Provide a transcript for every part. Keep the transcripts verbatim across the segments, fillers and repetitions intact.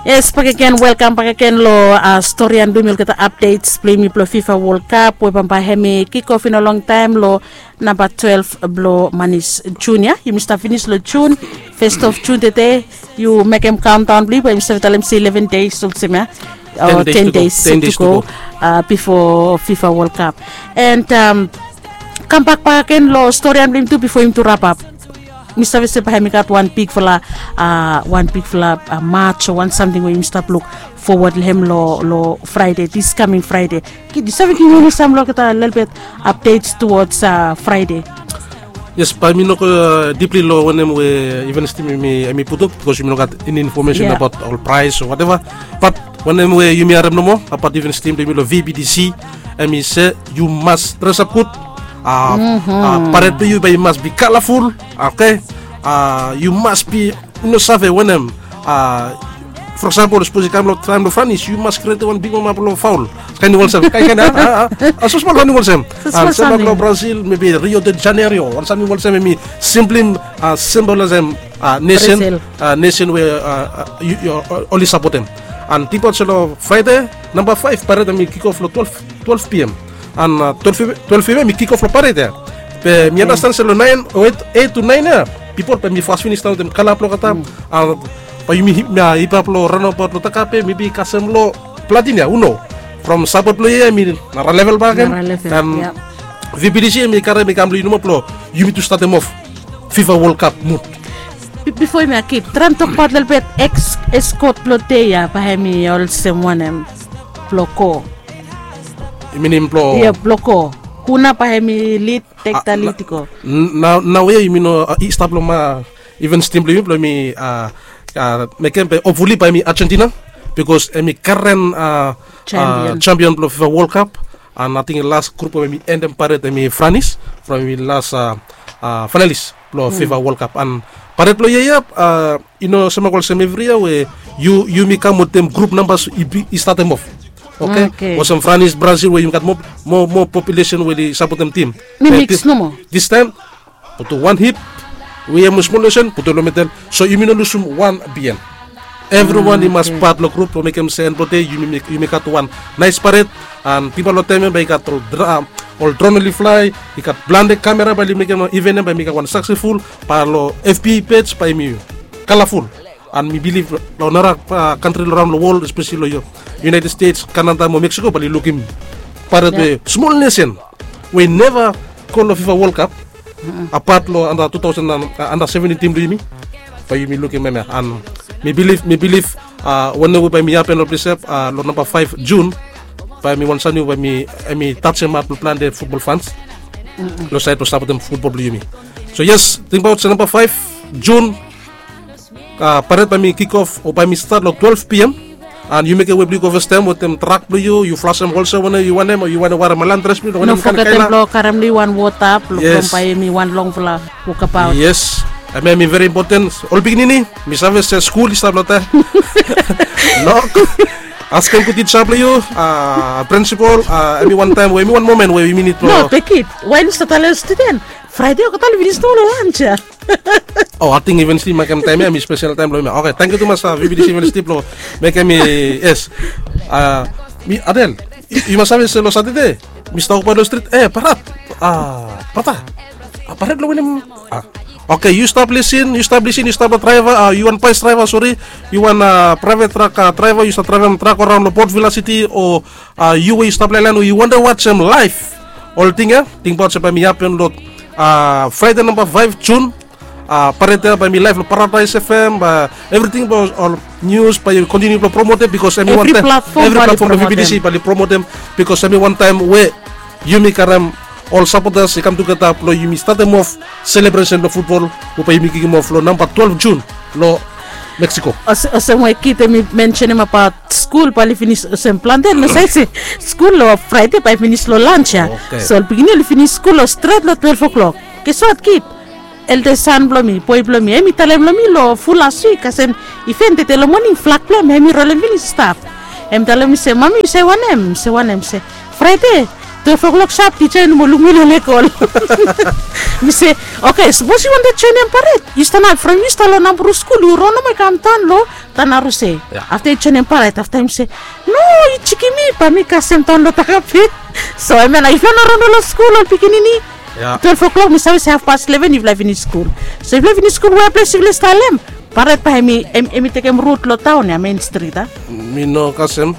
Yes, bakegen, welkam bakegen lo storian blong yumi olgeta, updates blong yumi blong FIFA World Cup we bambae hemi kikof i no longtaem lo namba twelve blong Manis Jun ya. Yumi stap finis lo Jun, fes of Jun tede. Yu mekem kaondaon blong yu bae yumi save talem se eleven days olsem ya, o ten days to go bifo FIFA World Cup. And kambak bakegen lo storian blong yumi tu bifo yumi tu rapap. Mi save se bae hemi gat wan bigfala, wan bigfala mats o wan samting we yumi stap luk fowod long hem lo Fraede, dis kaming Fraede. Yu save givim yumi sam lo olgeta lelebet updates towards Fraede? Yes, bae mi no go dipli lo wanem we events team hemi putum, bikos yumi no gat eni infomesen abaot ol praes o wateva. Bat wanem we yumi harem nomo abaot events team blong yumi lo VBDC, hemi se yu mas dresap gud. Paret blong yu bae i mas bi kalaful. Oke, yu mas bi, yu no save wanem. For example, sapos i kam lo taem lo Franis, yu mas krietem wan bigmama blong faol. Kaen i olsem, kaen kaen a, a, a, a so smol, kaen i olsem. Sem bak lo Brazil, mebi Rio de Janeiro, wan samting olsem, hemi simplim, simplim olsem nesen, nesen we oli sapotem. And tingbaot se lo Fraede namba faef, Paret hemi kikof lo twelve PM. And twelve PM hemi kikof lo Paret ya. Be mi anastan se lo naen o eit, eit tu naen ya, pipol bae hemi fas finis daon wetem kala blong olgeta. Bae yumi hipap lo raonabaot lo Takape, mebi kasem lo Platin ya, hu no. From sapot blong yia hemi nara level bakegen. And VBDC hemi karem i kam lo yu nomo blong yumi tu statem of FIFA World Cup mut. Bifo yumi kip, traem tokbaot lelebet ex eskot blong dei ya, bae hemi olsem wanem blong go? I minim blong, ya, blong go. Hu nao bae hemi lid, tek da lid i go? Nao, nao ya yumi no, i stap lo ma, events team blong yumi, blong yumi mekem, be hopefully bae hemi Argentina, bikos hemi karen champion blong FIFA World Cup. And ating las grup we hemi endem Paret hemi Franis, from hemi las finalis blong FIFA World Cup. And Paret blong yia ya i no sem bak olsem evri yia we yumi kam wetem grup nambas i statem of. Oke, olsem Franis, Brazil we yumi gat moa, moa populesen we oli sapotem tim. Mi miks nomo. Distaem putum wan hip, we hem we smol nesen putum lo medel, so yumi no lusum wan bihaen. Evriwan i mas pat lo grup blong mekem se en blong dei yumi gat wan naes Paret. And tingbaot lo taem ya bae i gat ol dron oli flae, i gat plante kamera, bae oli mekem iven ya bae hemi gat wan saksesful. Bae lo FB pej bae hemi kalaful. And mi bilif lo nara kantri lo raon lo wol, espeseli lo United States, Kanada mo Mexico, bae oli lukim Paret we smol nesen we i neva go lo FIFA World Cup, apat lo anda tu taosen, anda seventin tim blong yumi, bae yumi lukim hem ya. And mi bilif, mi bilif wanem we bae hemi hapen lo ples ya lo namba faef Jun, bae hemi wan samting we bae hemi tajem hat lo plante futbol fans lo saed blong sapotem futbol blong yumi. So yes, tingbaot se namba faef Jun, Paret bae hemi kikof o bae hemi stat lo twelve PM. And yu mekem wei blong yu go fastaem wetem trak blong yu, yu flasem olsem wanem yu wantem, o yu wantem werem wan long dres blong yu, no fogetem blong karem long yu wan wota blong from bae hemi wan longfala wokabaot. Yes, hemia hemi veri impoten. Ol pikinini, mi save se skul i stap lo taem. Nok, askem gud tija blong yu, prinsipol, hemi wan taem we hemi wan momen we yumi nid blong. No, tekit. Wae yu stap talem studen? Fraede olgeta oli finis nomo lo lans ya. O, ating events team mekem taem ya hemi spesel taem blong yumi. Oke, tangkiu tumas VBDC events team blong mekem hemi, yes. Mi Adel, yu mas save se lo Satade mi stap wokbaot lo strit, e Paret, brata, Paret lo wanem? Oke, yu stap lisin, yu stap lisin, yu stap lo draeva, yu wan baes draeva, sori, yu wan praevet trak draeva, yu stap draevem trak araon lo Port Vila Siti, o yu we yu stap laelaen we yu wantem wajem laef ol ting ya, tingbaot se bae hemi hapen lo Fraede namba faef Jun. Paret ya bae hemi laef lo Paradaes FM, bae evriting blong ol nius bae yu kontiniu blong promotem, bikos hemi wan taem evri platfom blong VBDC bae oli promotem, bikos hemi wan taem we yumi karem ol sapotas i kam tugeta blong yumi statem of selebresen blong futbol we bae yumi kikimof lo namba twelve Jun lo Mexico. Olsem we kid hemi mensenem abaot skul bae oli finis olsem plante, no save se skul lo Fraede bae finis lo lans ya. So ol pikinini oli finis skul lo stret lo twelve o'clock. Geswat kid, elda san blong mi, boe blong mi, hemi talem long mi lo ful las wik kasem iven tede lo moning flag blong hem hemi rolem finis i stap. Hem talem mi se, mami, yu save wanem? Mi se wanem? Se Fraede twelve o'clock sap tija i no moa luk mi lo leg ol. Mi se, oke, sapos yu wantem joinim paret, yu stap nao from yu stap long Nambru skul, yu ron nomo i kam daon long Tanaruse. Afta yu joinim paret, afta mi se, no, yu jikim mi, bae mi kasem daon long Takape. So hemia nao yufala no ron long skul ol pikinini. Twelve o'clock mi save se hafpas leven yufala i finis skul. So yufala i finis skul, wea ples yufala i stap long hem, paret bae hemi, hemi tekem rut long daon ya, mein strit a. Mi no kasem.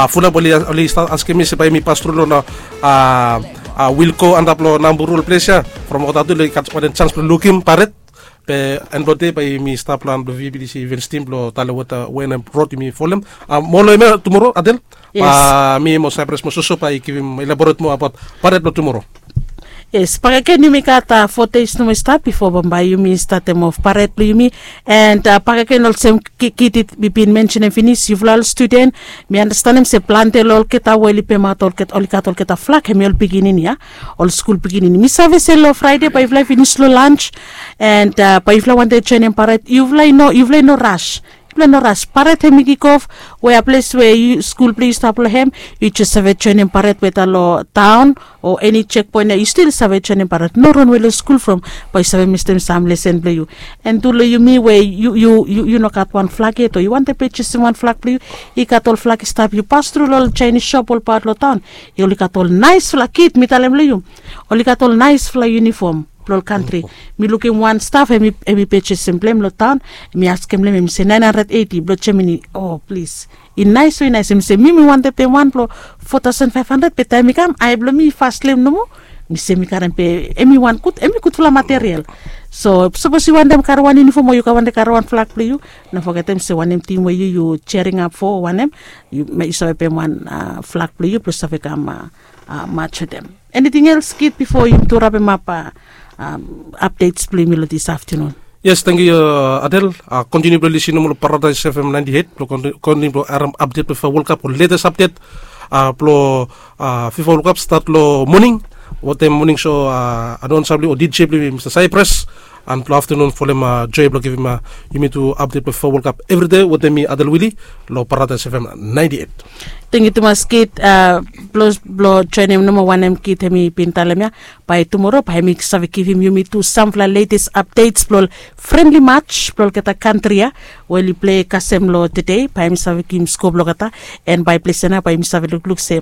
Fulap oli, oli stap askem mi se bae mi pas tru long, a, Wilko antap long Nambru ol ples ya. From olgeta tu oli gat wanem jans blong lukim paret. Be en blong dei bae mi stap long han blong VBTC events team blong talem weta wanem rod yumi folem. Mo long hemia tumoro, Adel. Bae mi mo Saipras mo Soso bae i givim elaboret moa abaot paret blong tumoro. Yes, bakegen yumi gat fo deis nomo i stap bifo bambae yumi statem of paret blong yumi. And bakegen olsem kid i bin mensenem finis, yufala ol studen, mi andastanem se plante long olgeta we oli pemaot olgeta, oli gat olgeta flag, hemi ol pikinini ya, ol skul pikinini. Mi save se long Fraede bae yufala i finis long lans, and bae yufala wantem joenem paret, yufala i no, yufala i no ras. Yufala i no ras. Paret hemi kikof, wea ples we yu, skul blong yu stap long hem, yu jes save joenem paret weta long taon o eni jekpoen ya, yu stil save joenem paret. No ronwe long skul from bae yu save mistem sam lesen blong yu. And tu long yumi we yu, yu, yu, yu no gat wan flag yet o yu wantem pejesim wan flag blong yu, i gat ol flag i stap, yu pas tru long ol Jaenis sop olbaot long taon, i oli gat ol naesfala, kid, mi talem long yu, oli gat ol naesfala yunifom blong ol kantri. Mi lukim wan staf hemi, hemi pejesim blong hem long taon, mi askem long hem, hemi se naen handred eiti blong Jamani. O plis, i naes o i naes. Hemi se mi, mi wantem pem wan blong fo taosen faef handred, be taem i kam, ae blong mi i fas long hem nomo. Mi se mi karem be hemi wan gud, hemi gudfala material. So sapos yu wantem karem wan yunifom o yu wantem karem wan flag blong yu, no fogetem se wanem tim we yu, yu jearing ap fo o wanem, yu, yu save pem wan flag blong yu blong save kam maj wetem. Eniting els, kid, bifo yumi tu rapemap apdets blong yumi long dis aftenun? Yes, tangkiu, Adel. Kontiniu blong lisin nomo long Paradaes FM naenti et blong kontiniu blong harem apdet blong FIFA World Cup o letes apdet blong FIFA World Cup, stat long moning wetem moning so, anaonsa blong yumi o DJ blong yumi, Mista Saipras. And long aftenun folem joe blong givim yumi tu apdet blong FIFA World Cup evri dei wetem mi, Adel Wili, long Paradaes FM naenti et. Tangkiu tumas, kid, blong joenem nomo wanem kid hemi bin talem ya. Bae tumoro bae mi save givim yumi tu samfala letes apdets blong ol frenli maj blong olgeta kantri ya we oli plei kasem long tede, bae mi save givim skoa blong olgeta. And bae ples ya nao bae mi save lukluk se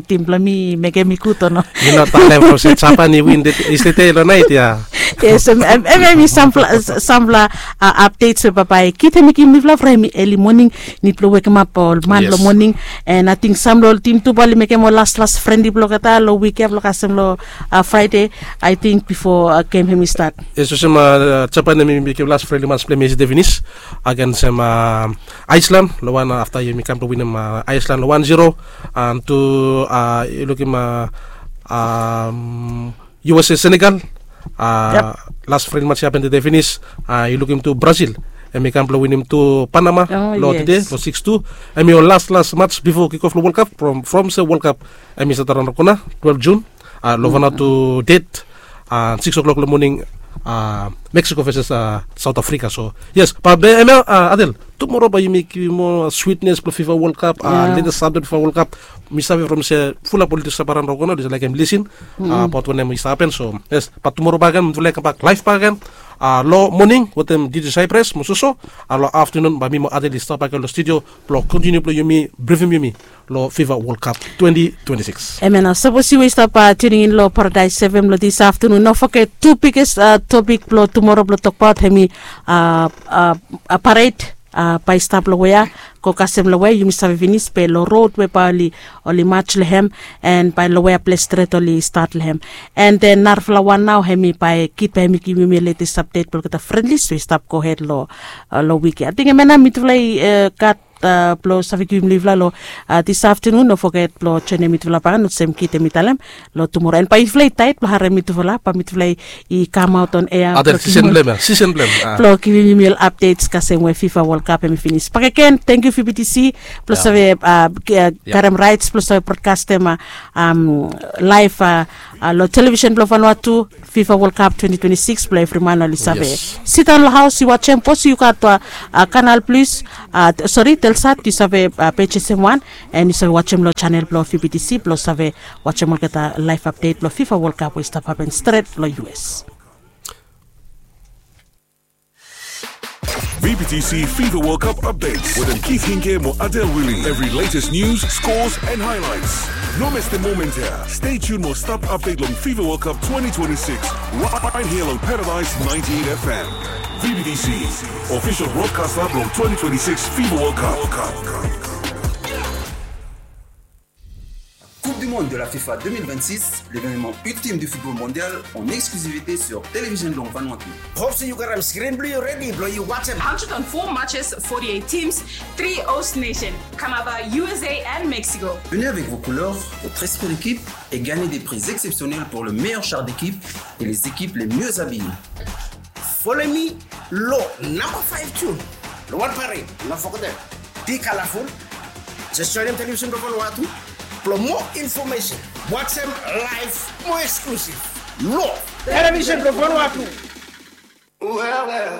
tim blong mi i mekem mi gud o no. Yu no talem from se Japan i win yestede long naet ya. Yes, hemia hemi samfala apdets we bambae kid hemi givim mifala from hemi eli moning. Nid blong wekemap ol man long moning. And ating sam long ol tim tu bae oli mekem ol laslas frenli blong olgeta long wik ya blong kasem long Fraede, ating bifo gem hemi stat. Yes, olsem Japan hemi mekem las frenli maj blong hem yestede finis agensem Aeslan long wan, afta yumi kam blong winim Aeslan long wan zero. And tu yu lukim USA Senegal, las frenli maj i hapen tede finis. Yu lukim tu Brazil, hemi kam blong winim tu Panama long tede long sikis tu. Hemi ol laslas maj bifo kikof long World Cup, from se World Cup hemi stat around long kona, twelve June, long Vanuatu date, sikis o'clock long moning, Mexico versus South Africa. So yes, bae hemia, Adel, tumoro bae yumi givim moa switnes blong FIFA World Cup, letes apdet blong FIFA World Cup. Mi save from se fulap oli tu stap around long kona oli jes laekem lisin abaot wanem i stap hapen. So yes, bae tumoro bakegen mifala i kambak laef bakegen long moning wetem DJ Saipras mo Soso. Long aftenun bae mi mo Adel i stap bakegen long studio blong kontiniu blong yumi brifim yumi long FIFA World Cup twenty twenty-six. Hemia nao, sapos yu we i stap tuning in long Paradaes FM long dis aftenun, no foget tu biges topik blong tumoro blong tokbaot hemi paret bae i stap long wea, go kasem long wea yumi save finis be long rod we bae oli, oli maj long hem, and bae long wea ples stret oli stat long hem. And then narafala wan nao hemi bae kid bae hemi givim yumi letes apdet blong olgeta frenlis we i stap gohed long, long wik ya. Ating hemia nao mitufala i gat blong save givim long yufala long dis aftenun. No foget blong joenem mitufala bakegen olsem kid hemi talem long tumoro. And bae yufala i taet blong harem mitufala, bae mitufala i kamaot on ea blong givim yumi ol apdets kasem we FIFA World Cup hemi finis. Bakegen tangkiu VBTC blong save karem raets blong save brodkastem laef long televisen blong Vanuatu, FIFA World Cup twenty twenty-six blong evri man oli save sidaon long haos i wajem. Sapos yu gat Kanal Plus, sori, Telsat, yu save pejesem wan, and yu save wajem long janel blong VBTC blong save wajem olgeta laef apdet blong FIFA World Cup we i stap hapen stret long US. V B T C FIFA World Cup updates wetem Keith Hinke mo Adel Willie. Every latest news, scores and highlights. No mes the moment here. Stay tuned mo stap update long FIFA World Cup twenty twenty-six right here on Paradise ninety-eight F M. V B T C, official broadcaster blong twenty twenty-six FIFA World Cup. Coupe du Monde de la FIFA deux mille vingt-six, l'événement ultime du football mondial en exclusivité sur Télévision Blanc Vanuatu. Hope se yu gat am screen blong yu redi blong yu wajem. Hundred and four matches, forty-eight teams, three host nation, Canada, U S A and Mexico. Venez avec vos couleurs, votre esprit d'équipe et gagnez des prix exceptionnels pour le meilleur char d'équipe et les équipes les mieux habillées. Follow me lo number five tune lo wan parade, no forget dem. Be colorful. Just join dem Television Blanc Vanuatu. Blo more information, watch dem live, more exclusive. Lo Television Blanc Vanuatu. Well, well.